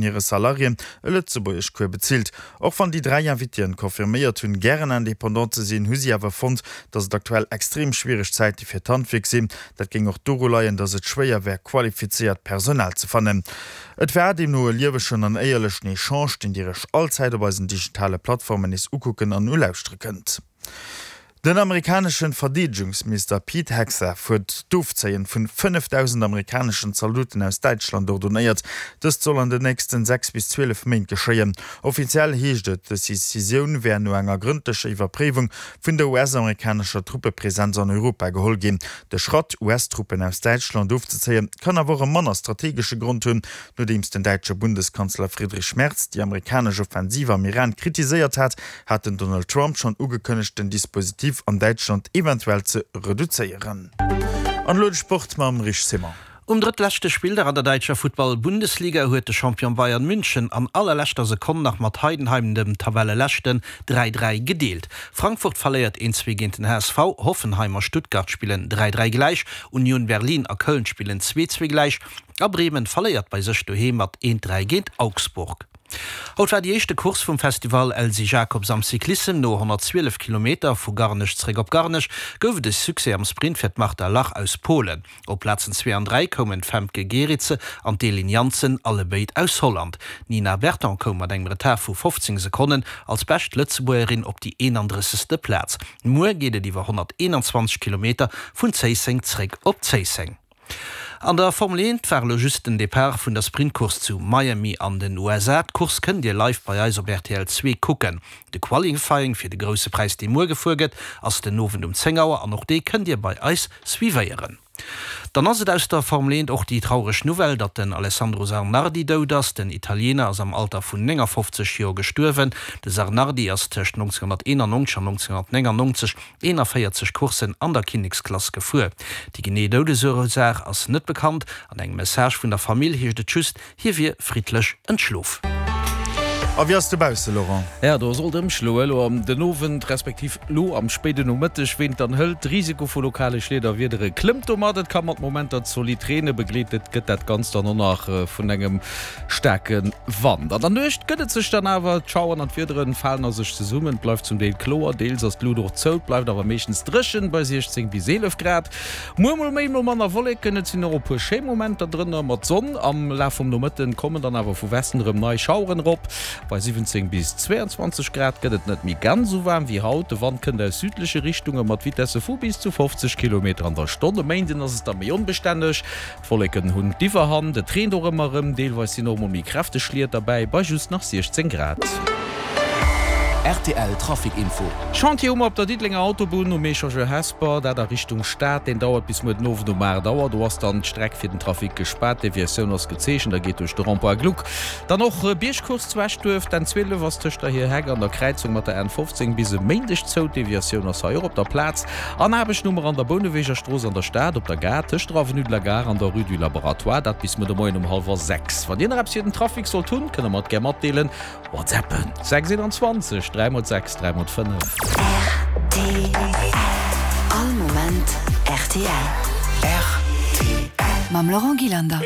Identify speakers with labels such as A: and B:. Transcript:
A: Hire Salariéen e Lëtzebuergeschcours bezilt. Och wann déi 3 Invitéen confirméiert hunn, gären Indépendant ze sinn, hu si awer fonnt, datt et aktuell extrem schwiereg Zäite fir d'Handwierk sinn. Dat géing och doru leien, datt et schwéier wär, qualifizéiert Personal ze fannen. Et war deemno e liewegen an éierlechen Echange, deen Dir Iech allzäit op eisen digitale Plattformen nees ukucken an ulauschtere kënnt. Den amerikaneschen Verdeedegungsminister Pete Hegseth huet d'Ofzéien vun 5.000 amerikaneschen Zaldoten aus Däitschland ordonéiert. Dëst soll an den nächsten 6 bis 12 Méint geschéien. Offiziell heescht et, dës Decisioun wär no enger grëndlecher Iwwerpréiwung vun der US-amerikanescher Truppepresenz an Europa geholl ginn. De Schratt, US-Truppen aus Däitschland ofzezéien, kann awer och e manner strategesche Grond hunn, Nodeems den däitsche Bundeskanzler Friedrich Merz déi amerikanesch Offensiv am Iran kritiséiert hat, hat den Donald Trump schonn ugekënnegt, den Dispositif an Däitschland eventuell ze reduzéieren. An elo de Sport mam Rich Simon.
B: Um drëttleschte Spilldag an der däitscher Futtball-Bundesliga huet de Champion Bayern München an allerleschter Sekonn nach mat Heidenheim, dem Tabelleleschten, 3, 3 gedeelt. Frankfurt verléiert 1, 2 géint den HSV, Hoffenheim a Stuttgart spillen 3, 3 gläich, Union Berlin a Köln spillen 2, 2 gläich a Bremen verléiert bei sech doheem mat 1, 3 géint Augsburg. Haut war déi éischte Course vum Festival Elsy Jacobs am Cyclissem. No 112 Kilometer vu Garnech zeréck op Garnech gouf et e Succès am Sprint fir d'Marta Lach aus Polen. Op Plazen zwee an 3 koumen d'Femke Gerritse an d'Elin Janssen, allebéid aus Holland. D'Nina Berton koum mat engem Retard vu 15 Sekonnen als bescht Lëtzebuergerin op déi 31. Plaz. Muer geet et iwwer 121 Kilometer vun Zéisseng zeréck op Zéisseng. An der Formel 1 war elo just den Depart vun der Sprintcourse zu Miami an den USA. D'Course kënnt Dir live bei eis op rtl 2 kucken. De Qualifying fir de Grousse Präis dee muer gefuer gëtt ass den Owend um 10 Auer an och dee kënnt Dir bei eis suivéieren. Dann ass et aus der Formel 1 och déi traureg Nouvelle, datt den Alessandro Zanardi dout ass. Den Italiener ass am Alter vun 59 Joer gestuerwen. De Zanardi ass tëscht 1991 an 1999 41 Courssen an der Kinneksklass gefuer. Déi genee Doudesursaach ass net bekannt. An engem Message vun der Famill heescht et just, hie wier friddlech entschlof.
A: A wéi ass dobausse, Laurent?
C: Ja, do sollt ëmschloe lo am den Owend, respektiv lo am spéiden Nomëtteg. Ween et dann hëlt, de Risiko vu lokale Schliederwiedere klëmmt domat. Et ka mat Momenter zolidd reene, begleet gëtt dat Ganzt dann och nach vun engem Staarke Wand. An der Nuecht gëtt et sech dann awer, d'Schaueren an d'Wiederen falen a sech zesummen, et bleift zum Deel kloer, deels ass d'Lut och zou, et bleift awer meeschtens dréchen bei 16 bis 11 Grad. Muer mol méi, mol manner Wolleken, et sinn och e puer schéi Momenter drënner mat Sonn. Am Laf vum Nomëtten kommen dann awer vu Westen erëm nei Schaueren erop. Bei 17 bis 22 Grad gëtt et net méi ganz esou waarm wéi haut. De Wand kënnt aus südleche Richtunge mat Vitesse vu bis zu 50 Kilometer an der Stonn. E Méinden ass et da méi onbestänneg. D'Wolleken hunn d'Iwwerhand, et reent och ëmmer erëm, deelweis sinn och mol méi kräfteg Schliet derbäi, bei just nach 16 Grad.
D: Rtl Trafic Info.
C: Chantier hu mer op der Diddelenger Autobunn um Echangeur Hesper, dat a Richtung Stad. Deen dauert bis muer den Owend um 8 Auer. Do ass dann d'Streck fir den Trafic gespaart. D'Deviatioun ass gezeechent a geet duerch de Rond-point Gluck. Dann och Biergcourse zu Eschduerf. D'N 12 ass tëscht der Hir Heck an der Kräizung mat der N 15 bis e Méindeg zou. D'Deviatioun ass hei och op der Plaz. An Aarbecht hu mer an der Bouneweger Strooss an der Stad, op der Gare, tëscht der Avenue de la Gare an der Rue du Laboratoire, dat bis muer de Moien um hallwer 6. Wann Dir nach eppes fir den Trafic sollt hunn, kënnt der mer et gär matdeelen. Whatsappen, 6 21 3 mol 6 3 mol 5.
E: Rtl, All Moment rtl.
D: Rtl.
E: Mam Laurent Gillander.